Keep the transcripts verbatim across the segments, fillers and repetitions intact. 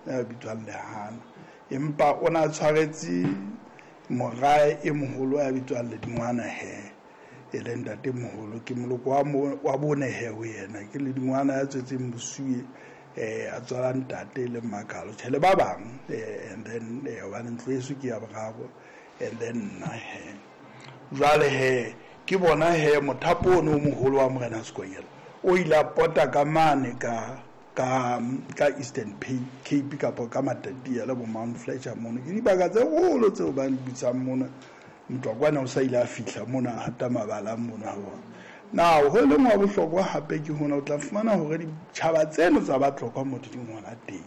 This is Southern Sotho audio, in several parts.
ya bitswang Lehana. Empa o na tshwaretse morae e moholo ya bitswang Ledingwana he, e leng ntate moholo, ke moloko wa mo, wa bone he ho yena, ke Ledingwana ya tswetseng Mosuwe, eh, a tswala ntate le Mmakalo, tjhe le ba bang, eh, and then, eh, hobane ntlo eso ke ya boraro, and then nna he. Jwale he, ke bona he mothapo ono o moholo wa Morena Sekonyela o ile a pota ka mane ka, ka, ka Eastern Cape kapa ka Matatiele le bo Mount Fletcher mono. Ke dibaka tse kgolo tseo ba di bitsang mona. Motwakwana o sa ile a fihla mona, a hata mabala mona ha bona. Now, ho leng wa bohlokwa hape ke hona o tla fumana hore ditjhaba tseno tsa Batlokwa mo di ngwana teng.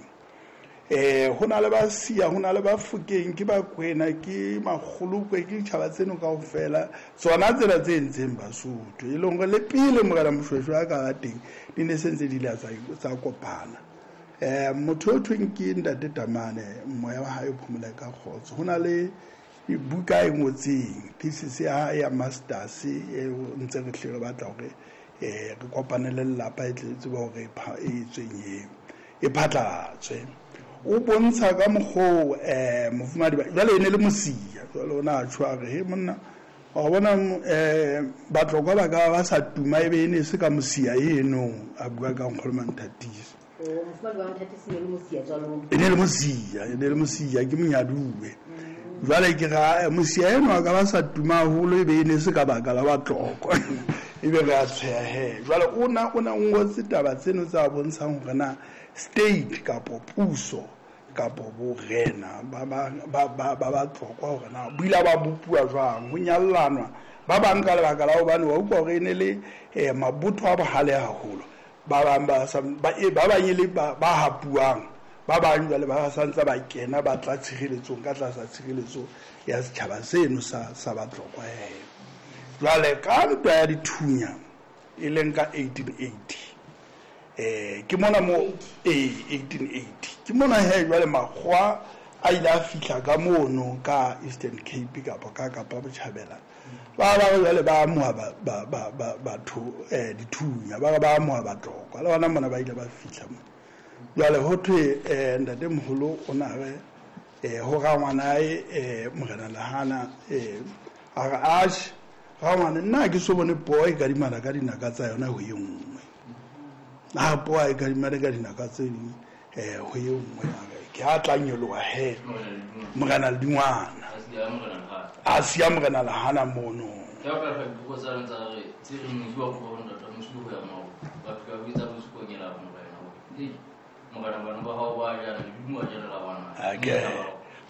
Eh, ho na le ba Sia, ho na le ba Fokeng, ke ba Kwena, ke Makgolokwe, ke ditjhaba tseno kaofela, tsona tsena tse entseng Basotho. E leng hore le pele Morena Moshoeshoe a ka ba teng, di ne se ntse di ile tsa, tsa kopana. Eh, motho o thweng ke Ntate Tamane, moya wa hae o phomole ka kgotso. Ho na le buka e ngotseng, thesis ya hae ya masters, e ntse re hle re batla hore, eh, re kopane le lelapa e tle tsebe hore e pha-, e tsweng eo, e phatlalatswe. O bontsha ka mokgwa, eh, mofumahadi ba, jwale e ne le Mosia, jwale o na tjho a re, he monna, wa bona, eh, Batlokwa ba ka ba sa tuma ebe e ne se ka Mosia eno, a bua ka Nkgono Manthatisi. O, mofumahadi wa Manthatisi e ne le Mosia jwalo? E ne le Mosia, e ne le Mosia, ke monyaduwe. Jwale ke ra, eh, Mosia eno a ka ba sa tuma haholo ebe e ne se ka baka la Batlokwa. Ebe re a tsheha he. Jwale o na, o na ngotse taba tseno tsa bontshang hore na state kapo puso kapo borena ba, ba, ba, ba, ba Batlokwa hore na bo ile ba bopuwa jwang, ho nyallanwa ba bang ka lebaka la hobane wa utlwa hore e ne le, eh, mabotho a bohale haholo. Ba bang ba sa, ba, eh, ba bang e le ba, ba hapuwang, ba bang jwale ba sa ntse ba kena ba tla tshireletsong ka tlasa tshireletso ya setjhaba seno sa, sa Batlokwa he. Jwale ka ntwa ya dithunya e leng ka eighteen eighty, eh, ke mona mo, eh, eighteen eighty, ke mona he jwale makgowa a ile a fihla ka mono ka Eastern Cape kapa ka Kapa Botjhabela. Ba ba jwale ba amoha ba, ba, ba, ba, batho, eh, dithunya, ba ba amoha Batlokwa. Le bona mona ba ile ba fihla mo. Jwale ho thwe, eh, ntate moholo o na re, eh, ho rangwanae, eh, Morena Lehana, eh, a re, atjhe, rangwane, nna ha ke so bone poo e kadimana ka dinaka tsa yona ho e nngwe. Ha poo e kadimana ka dinaka tse ding, eh, ho e nngwe, a re, ke ha tla nyoloha he, Morena Ledingwana. A siya Morena Lehana mono. Ke a ka dipuo tsa lona tsa re, tse reng mosi wa tloha ho ntata, mosi ho ya moo. Ba fihla ba bitsa mosi ko nyela morena. Hei, morena bana ba hao ba jana, ledimo a jana la bana. Ake,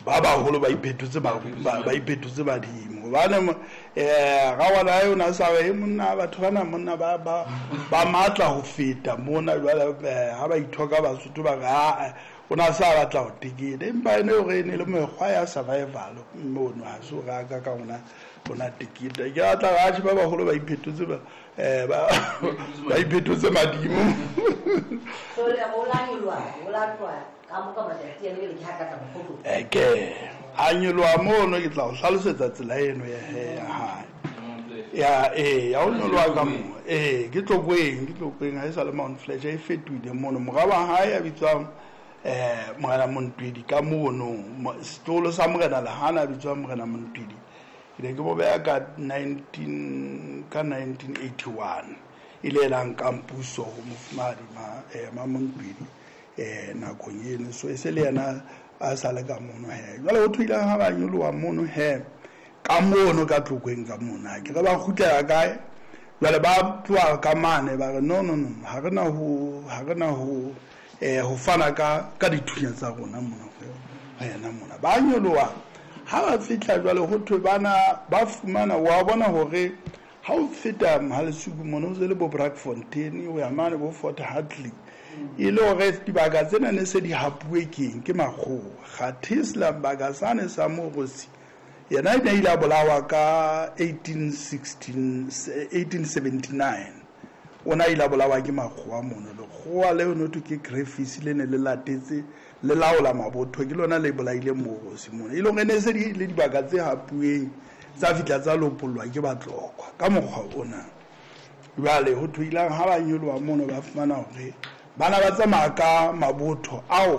ba baholo ba iphetotse ba, ba, ba iphetotse badimo. Hobane mo-, eh, rangwana eo na sa re, monna, batho bana monna ba, ba, ba matla ho feta mona jwale, eh, ha ba ithoka Basotho ba re, ha, o na sa batla ho teketa. Empa ene hore e ne le mekgwa ya survival mono, ha se hore a ka ka ona, ona teketa. Ke batla batjha ba baholo ba iphetotse ba, eh, ba, ba iphetotse madimo. So le ho la nyoloha, ho la tloha ka mo ka matsatsi a le ke ha ka tla mokgotlo. Eh, ke a nyoloha mono, ke tla o hlalosetsa tsela eno ya he, ya hae. Ya, eh, ya ho nyoloha ka mo. Eh, ke Tlokweng, ke Tlokweng, ha e sa le Mount Fletcher e fetohile mono. Mora wa hae a bitswang, eh, Morena Montwedi ka mono, mo-, setloholo sa Morena Lehana a bitswang Morena Montwedi. Ke ne ke mo beha ka nineteen, ka nineteen eighty-one. E le ena nkang puso ho mofumahadi ma, eh, ma Montwedi, eh, nakong eno. So e se le yena a sa le ka mono he. Jwale ho thwe ha ba nyoloha mono he, ka mono ka Tlokweng ka mona, ke re ba kgutlela kae? Jwale ba tloha ka mane ba re no, no, no, ha re na ho, ha re na ho, eh, ho fana ka, ka dithunya tsa rona mona ho yena mona. Ba nyoloha, ha ba fihla jwale ho thwe bana ba fumana, wa bona hore ha o feta Mohalesuku mona o se le bo Brakfontein, o ya mane bo Fort Hartley, e le hore dibaka tsena ne se di hapuwe keng ke makgowa. Kgathisla baka sane sa Morosi, yena e ne ile a bolawa ka eighteen sixteen, eighteen seventy-nine. O na ile a bolawa ke makgowa mono. Lekgowa leo no thwe ke Griffiths, le ne le latetse le laola mabotho, ke lona le bolaile Morosi mono. E le hore ne se di le dibaka tse hapuweng tsa fihla tsa lopollwa ke Batlokwa ka mokgwa ona. Jwale ho thwe ilang ha ba nyoloha mono ba fumana hore bana ba tsamaya ka mabotho ao